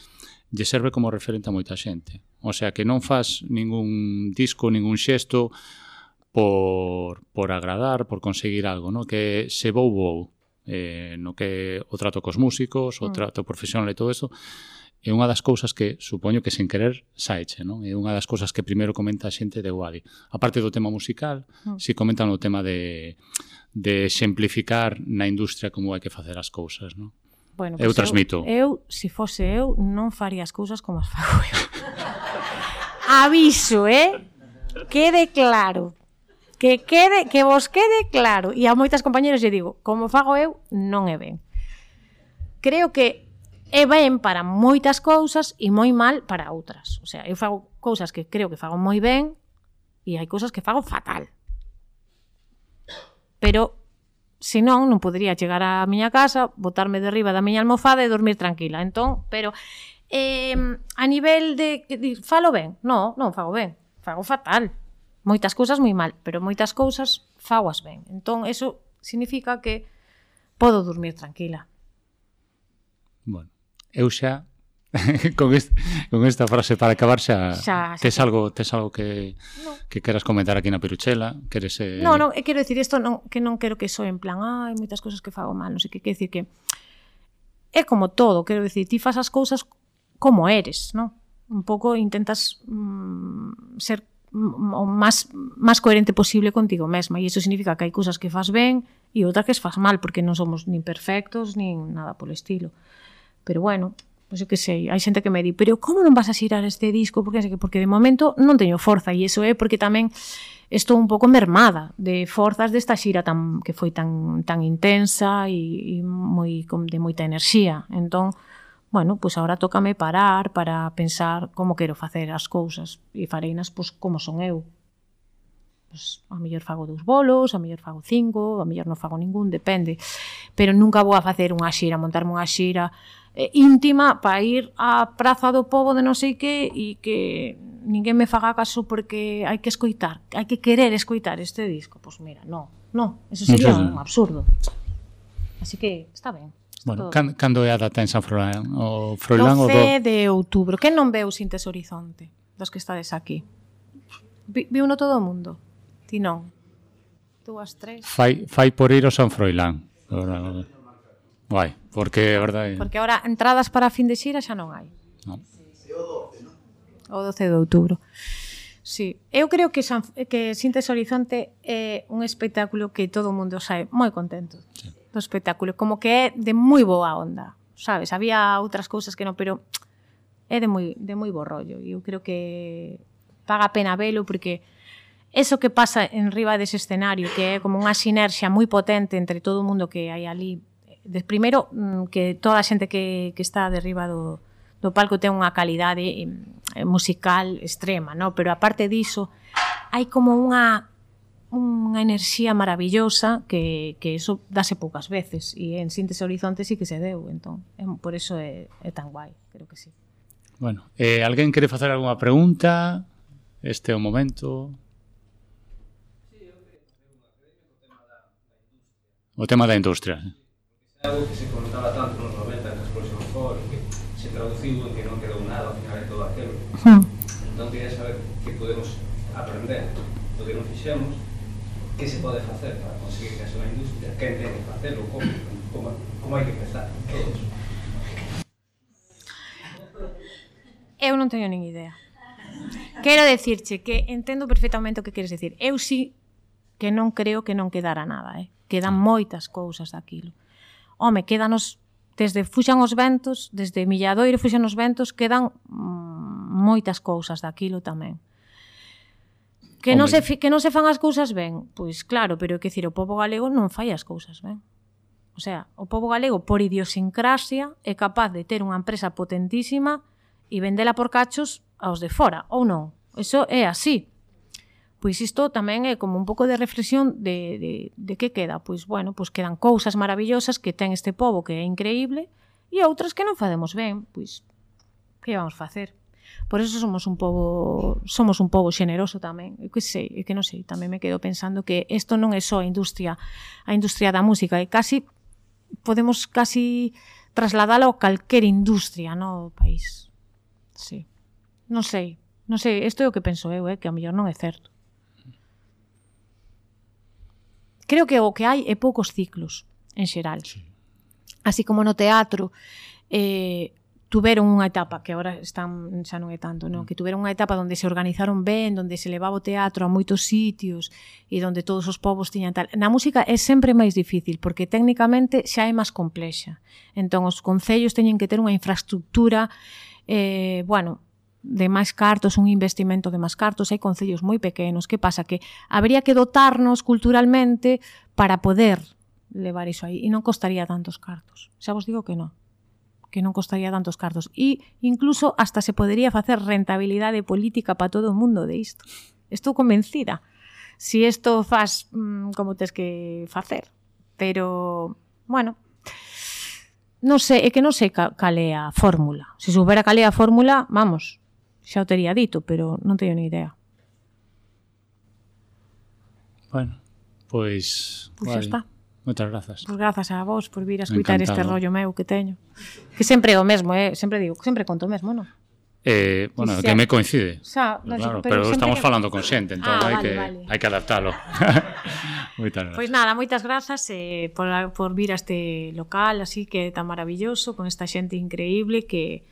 lle serve como referente a moita xente. O sea, que non faz ningún disco, ningún xesto por, por agradar, por conseguir algo, no? Que se vou, vou. Eh, no que o trato cos músicos, o trato profesional e todo isto, é unha das cousas que supoño que sen querer saeche, non? É unha das cousas que primeiro comenta a xente de Guadi. A parte do tema musical, mm. si comentan o tema de, de exemplificar na industria como hai que facer as cousas, non? Bueno, eu pues transmito. Eu, eu, se fose eu, non faría as cousas como as fago eu. Aviso, eh? Quede claro. que quede, que vos quede claro. E a moitas compañeras lle digo, como fago eu, non é ben. Creo que é ben para moitas cousas e moi mal para outras. O sea, eu fago cousas que creo que fago moi ben e hai cousas que fago fatal. Pero, se non, non podería chegar á miña casa, botarme de riba da miña almofada e dormir tranquila. Entón, pero eh, a nivel de... Falo ben? Non, non fago ben. Fago fatal. Moitas cousas moi mal, pero moitas cousas fagoas ben. Entón, eso significa que podo dormir tranquila. Bueno, eu xa con, este, con esta frase para acabar xa, xa, xa tes, algo, tes algo que, no. que queras comentar aquí na Piruchela? Queres, eh... No, no, quero dicir isto non, que non quero que soe en plan hai moitas cousas que fago mal, non sei que, quero dicir que é como todo, quero dicir, ti fas as cousas como eres, non? Un pouco intentas mm, ser o máis, máis coherente posible contigo mesma e iso significa que hai cousas que fas ben e outras que fas mal, porque non somos nin perfectos nin nada polo estilo. Pero bueno, pois eu que sei, hai xente que me di, pero como non vas a xirar este disco? Porque, porque de momento non teño forza e iso é porque tamén estou un pouco mermada de forzas desta xira tan, que foi tan, tan intensa e, e moi, de moita enerxía. Entón, bueno, pois agora tócame parar para pensar como quero facer as cousas e fareinas pois como son eu. Pois, a mellor fago dous bolos, a mellor fago cinco, a mellor non fago ningún, depende. Pero nunca vou a facer unha xira, montarme unha xira eh, íntima para ir á Praza do Pobo de non sei que e que ninguén me faga caso porque hai que escoitar, hai que querer escoitar este disco. Pois mira, non, non, eso sería un absurdo. Así que está ben. Bueno, can, cando é a data en San Froilán? O Froilán o doce de outubro. Que non veu Sintes Horizonte dos que estades aquí? Vi, viu no todo o mundo? Ti non. Dúas, tres. Fai, fai por ir ao San Froilán. Ahora, guai, porque é verdade. Porque agora entradas para a fin de xira xa non hai. Non. O doce de outubro. Sí, eu creo que, San, que Sintes Horizonte é un espectáculo que todo o mundo sae moi contento. Sí. Do espectáculo, como que é de moi boa onda, sabes? Había outras cousas que non, pero é de moi, de moi bo rollo. E eu creo que paga a pena velo porque eso que pasa en riba dese escenario, que é como unha sinerxia moi potente entre todo o mundo que hai ali. De, primeiro, que toda a xente que, que está de riba do, do palco ten unha calidade musical extrema, no? Pero aparte diso, hai como unha unha enerxía maravillosa que, que eso dase poucas veces e en Sintes Horizonte sí que se deu, entón, é, por eso é, é tan guai, creo que sí. Bueno, eh, alguén quere facer algunha pregunta? Este é o momento. O tema da industria. É algo que se comentaba tanto nos noventa en Explosión For, que se traduciu en que non quedou nada ao final de todo aquilo. Hmm. Entón, quería saber que podemos aprender do que non fixemos, que se pode facer para conseguir que haxa unha industria, quen ten que facelo, como, como, como hai que empezar, todos. Eu non teño nin idea. Quero decirche que entendo perfectamente o que queres decir. Eu sí que non creo que non quedara nada, eh? Quedan moitas cousas daquilo. Home, quedanos, desde Fuxan os Ventos, desde Milladoiro Fuxan os Ventos, quedan mm, moitas cousas daquilo tamén. Que non, se, que non se fan as cousas ben? Pois claro, pero é que dicir, o pobo galego non fai as cousas ben. O sea, o pobo galego, por idiosincrasia, é capaz de ter unha empresa potentísima e vendela por cachos aos de fora, ou non? Eso é así. Pois isto tamén é como un pouco de reflexión de, de, de que queda. Pois, bueno, pois quedan cousas maravillosas que ten este pobo que é increíble e outras que non facemos ben. Pois, que vamos facer? Por eso somos un pobo somos un pobo xeneroso tamén. Eu que sei, eu que non sei, tamén me quedo pensando que isto non é só a industria, a industria da música, e casi podemos casi trasladalo a calquer industria no país. Sí. Non sei, non sei, isto é o que penso eu, eh, que a mellor non é certo. Creo que o que hai é poucos ciclos, en xeral. Sí. Así como no teatro, eh, tuveron unha etapa, que agora están, xa non é tanto, non? Que tuveron unha etapa onde se organizaron ben, onde se levaba o teatro a moitos sitios e onde todos os povos tiñan tal. Na música é sempre máis difícil, porque técnicamente xa é máis complexa. Entón, os concellos teñen que ter unha infraestructura, eh, bueno, de máis cartos, un investimento de máis cartos, hai concellos moi pequenos. Que pasa? Que habría que dotarnos culturalmente para poder levar iso aí, e non costaría tantos cartos. Xa vos digo que non, que non costaría tantos cartos. E incluso hasta se podería facer rentabilidade política para todo o mundo de isto. Estou convencida. Si isto faz mmm, como tes que facer. Pero, bueno, non sei, é que non sei cal é a fórmula. Se soubera cal é a fórmula, vamos, xa o tería dito, pero non teño ni idea. Bueno, pois... Pois xa está. Moitas grazas. Pois grazas a vos por vir a escutar este Encantado. rollo meu que teño. Que sempre é o mesmo, eh? Sempre digo, sempre conto o mesmo, non? Eh, bueno, Sí, que sí. me coincide. Xa, Pero, no, claro, pero pero sempre estamos que- falando con xente, entón Ah, hai vale, que vale. hai que adaptalo. Moitas grazas. Pois nada, moitas grazas eh, por, por vir a este local así que tan maravilloso, con esta xente increíble que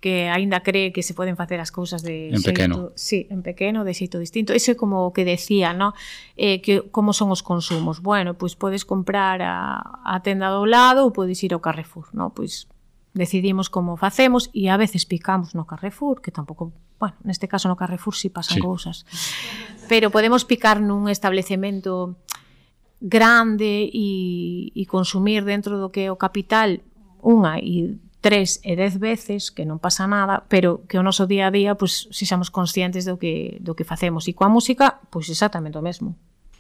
que aínda cree que se poden facer as cousas de En xeito, pequeno. sí, en pequeno, de xeito distinto. Eso é como o que decía, ¿no? Eh, que como son os consumos. Bueno, pois podes comprar a, a tenda do lado ou podes ir ao Carrefour, ¿no? Pois decidimos como facemos e a veces picamos no Carrefour, que tampouco, bueno, neste caso no Carrefour si sí pasan Sí. cousas. Pero podemos picar nun establecemento grande e, e consumir dentro do que é o capital unha e tres e dez veces, que non pasa nada, pero que o noso día a día, pois, se xamos conscientes do que, do que facemos. E coa música, pois exactamente o mesmo.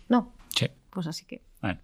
Non? Sí. Pois así que... Bueno.